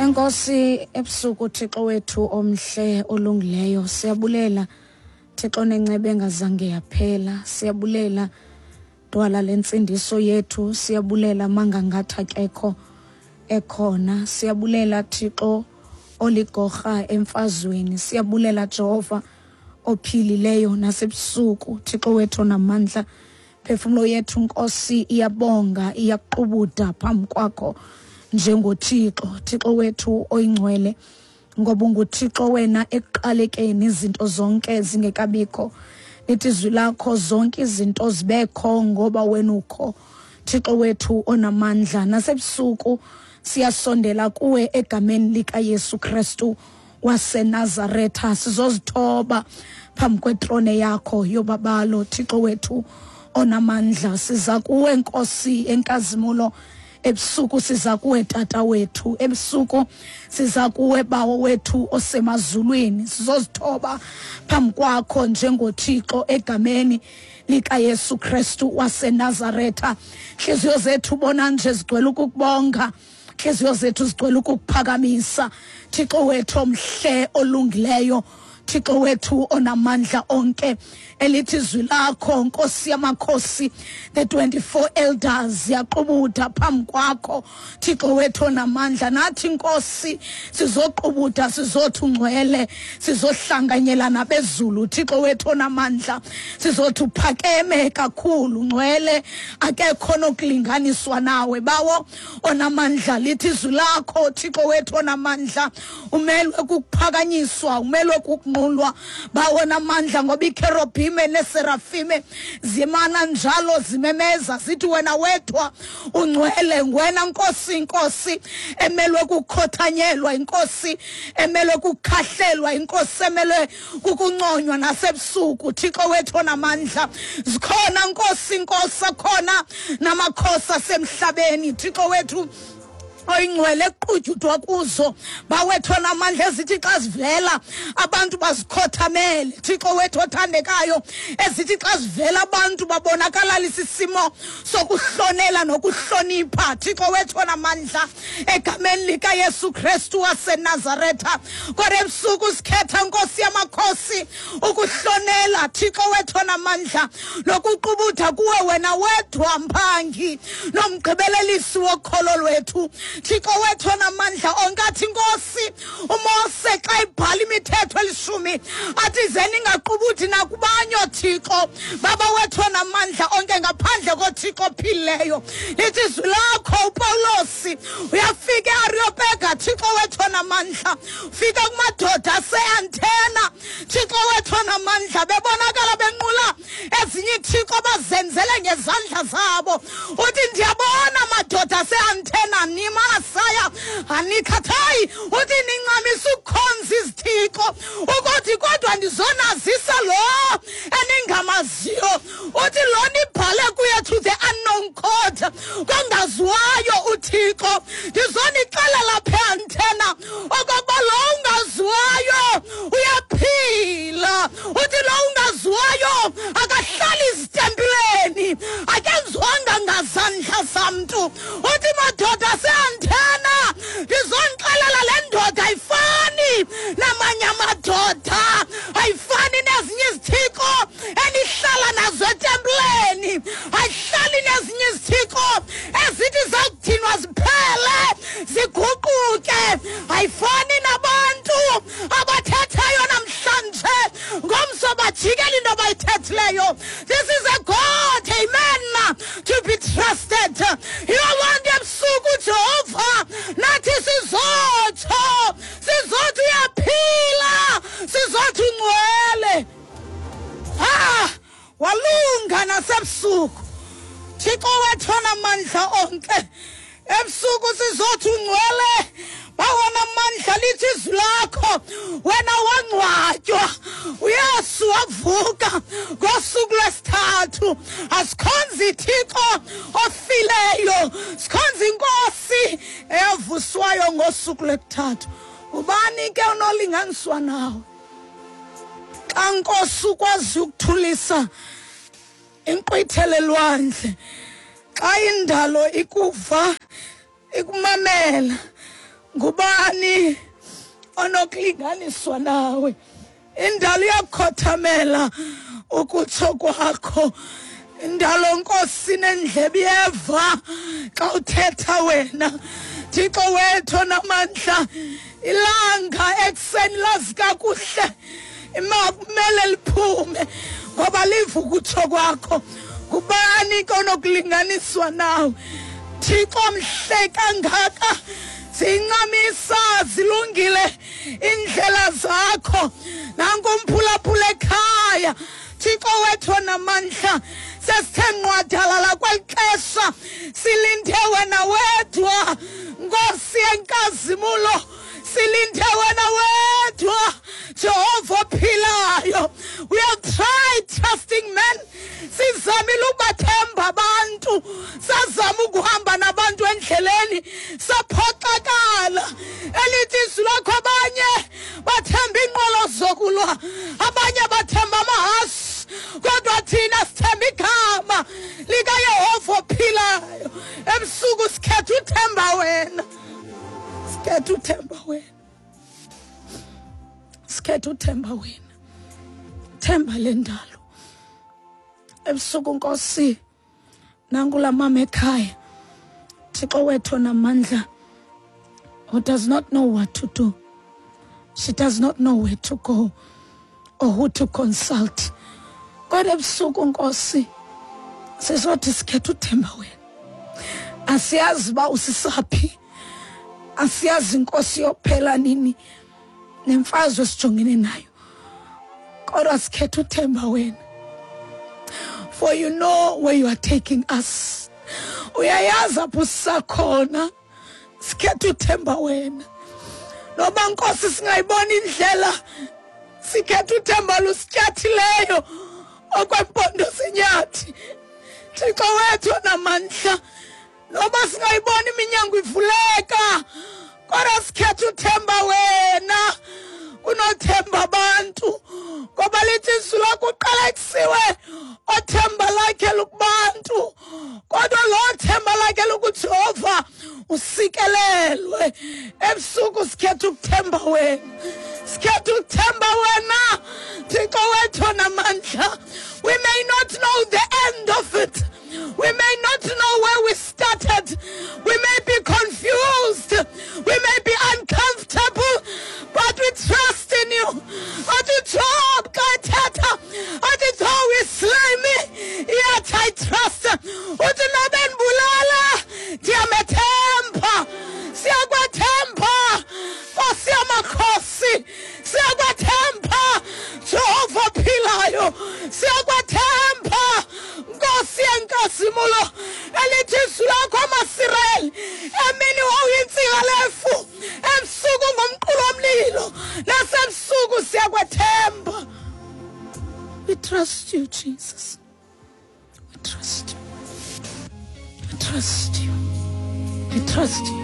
Enkosi ebusuku Thixo wethu omhle olungileyo, siyabulela Thixo nenceba engazange yaphela, siyabulela Dwala lentsindiso yethu, siyabulela mangangathi akekho ekhona, siyabulela Thixo oligorha emfazweni, siyabulela Jehova ophilileyo nasebusuku, Thixo wethu onamandla. Phefumlo yethu Nkosi iyabonga, iyaqubuda phambi kwakho njengoThixo, Thixo wethu oyingcwele, ngoba unguThixo wena ekuqalekeni izinto zonke zingekabikho. Lithi izwi lakho zonke izinto zibekho ngoba wena ukho, Thixo wethu onamandla. Nasebusuku siyasondela kuwe egameni likaYesu Kristu waseNazaretha, sizozithoba phambi kwetrone yakho yobabalo, Thixo wethu onamandla. Siza kuwe Nkosi enkazimulo ebusuku, siza kuwe Tata wethu ebusuku, siza kuwe Bawo wethu osemazulwini, sizozithoba phambi kwakho njengoThixo egameni likaYesu Kristu waseNazaretha. Nhliziyo zethu bona nje zigcwele ukukubonga, nhliziyo zethu zigcwele ukukuphakamisa, Thixo wethu omhle olungileyo, Thixo wethu onamandla onke. Elithi izwi lakho Nkosi yamakhosi, the 24 elders yaqubuda phambi kwakho, Thixo wethu onamandla. Nathi Nkosi sizoqubuda, sizothi ungcwele, sizohlanganyela nabezulu, Thixo wethu onamandla, sizothi uphakeme kakhulu, ngcwele, akekho nokulinganiswa nawe, Bawo onamandla. Lithi izwi lakho, Thixo wethu onamandla, umelwe kukuphakanyiswa, umelwe kukunqulwa, Bawo namandla, ngoba ikherobhime neserafime zimana njalo zimemeza zithi wena wedwa ungcwele, ngwena Nkosi, inkosi emelwe kukukhothanyelwa, inkosi emelwe kukukhahlelwa, inkosi emelwe kukunconywa nasebusuku, Thixo wethu onamandla. Zikhona Nkosi, inkosi akhona namakhosi asemhlabeni, Thixo wethu oyingcwele, equtyudwa kuzo, Bawethu onamandla, ezithi xa zivela abantu bazikhothamele, Thixo wethu othandekayo, ezithi xa zivela abantu babonakalalisa isimo sokuhlonela nokuhlonipha, Thixo wethu onamandla, egameni likaYesu Kristu waseNazaretha. Kodwa ebusuku sikhetha, Nkosi yamakhosi, ukuhlonela, Thixo wethu onamandla, nokuqubutha kuwe wena wedwa, mphangi nomgqibelelisi wokholo lwethu, Thixo wethu onamandla onke. Athi Nkosi uMose xa ibhala imithetho elishumi, athi ze ningaqubuthi nakubanye oothixo, Baba wethu onamandla onke, ngaphandle koThixo ophilileyo. Lithi izwi lakho, uPawulosi uyafika eAreopega, Thixo wethu onamandla, ufika kumadoda aseAnthena, Thixo wethu onamandla, bebonakala benqula ezinye ithixo bazenzele ngezandla zabo. Uthi ndiyabona madoda aseAnthena, nimasaya anikhathayi, uthi nincamisa ukukhonza izithixo, ukuthi kodwa ndizonazisa lo eningamaziyo. Uthi lo nibhale kuye to the unknown God, kongaziwayo uThixo. Ndizonixelela pha eAnthena okokuba lo ungaziwayo uyaphila. Uthi lo ungaziwayo akahlali zitempileni, akenziwanga ngazandla zamntu. Uthi madoda aseAnthena, ndizonixelela le ndoda ayifani namanye amadoda, ayifani nezinye izithixo enihlala nazo etempileni, ayihlali nezinye izithixo ezithi zakudinwa ziphele ziguquke, ayifani nabantu abathethayo namhlanje ngomso bajikela into abayithethileyo. This is a God, amen, to be trusted. Yiyo loo nto ebusuku, Jehova, nathi sizotsho, sizothi uyaphila, sizothi ungcwele. Walunga nasebusuku, Thixo wethu onamandla onke. Ebusuku sizothi ungcwele, bawona mandla. Lithi izwi lakho wena wangcwatywa, uYesu wavuka ngosuku lwesithathu. Asikhonzi Thixo ofileyo, sikhonza inkosi eyavuswayo ngosuku lwesithathu. Ubani ke unolinganiswa nawe? Xa Nkosi ukwazi ukuthulisa inkqwithele lwandle, xa indalo ikuva ikumamela, Ngubani onokulinganiswa nawe? Indalo iyakukhothamela ukutsho kwakho. Indalo Nkosi nendlebe iyeva xa uthetha wena. Thixo wethu onamandla, ilanga ekuseni lazi kakuhle kumele liphume ngoba liva ukutsho kwakho. Ngubani ke onokulinganiswa nawe? Thixo mhle kangaka, zincamisa zilungile indlela zakho. Nanku umphulaphula ekhaya, Thixo wethu onamandla, sesithe nqwadalala kweli xesha, silinde wena wedwa, Nkosi yenkazimulo, silinde wena wedwa, Jehova ophilayo. We have tried trusting men, sizamile ukubathemba abantu, sazama ukuhamba nabantu endleleni, saphoxakala. Elithi izwi lakho, abanye bathemba iinqwelo zokulwa, abanye bathemba amahasi, kodwa thina sithemba igama likaYehova ophilayo. Ebusuku sikhetha uthemba wena, sikhetha uthemba wena, sikhetha uthemba wena, themba le ndalo. Ebusuku Nkosi, nankula mama ekhaya, Thixo wethu onamandla, who does not know what to do. She does not know where to go or who to consult. Kodwa ebusuku Nkosi, sizothi sikhetha uthemba wena. Asiyazi uba usisaphi, asiyazi Nkosi yophela nini nemfazwe esijongene nayo, kodwa sikhetha uthemba wena. For you know where you are taking us. Uyayazi apho sisakhona, sikhetha uthemba wena. Noba Nkosi singayibona indlela, sikhetha uthemba lusityathileyo okwempondo senyathi. Thixo wethu onamandla, noba singayibona iminyango ivuleka, kodwa sikhetha uthemba wena kunothemba abantu, ngoba lithi izwi lakho uqalekisiwe othemba lakhe lukubantu, kodwa lo themba lakhe lukuJehova usikelelwe. Ebusuku sikhetha ukuthemba wena, sikhetha ukuthemba wena, Thixo wethu onamandla. We may not know the end of it, we may not know where we started, we may be confused, we may be uncomfortable, but we trust in you. Athi Job xa ethetha, athi though he slay me, yet I trust. Uthi noba endibulala, ndiyamethemba. Siyakwethemba Nkosi yamakhosi, siyakwethemba Jehova ophilayo, siyakwethemba Nkosi yenkazimulo. Elithi izwi lakho amaSirayeli, emini wawuyintsika lefu, ebusuku ngumqulu womlilo, nasebusuku siyakwethemba. We trust you, Jesus. We trust you. We trust you. We trust you.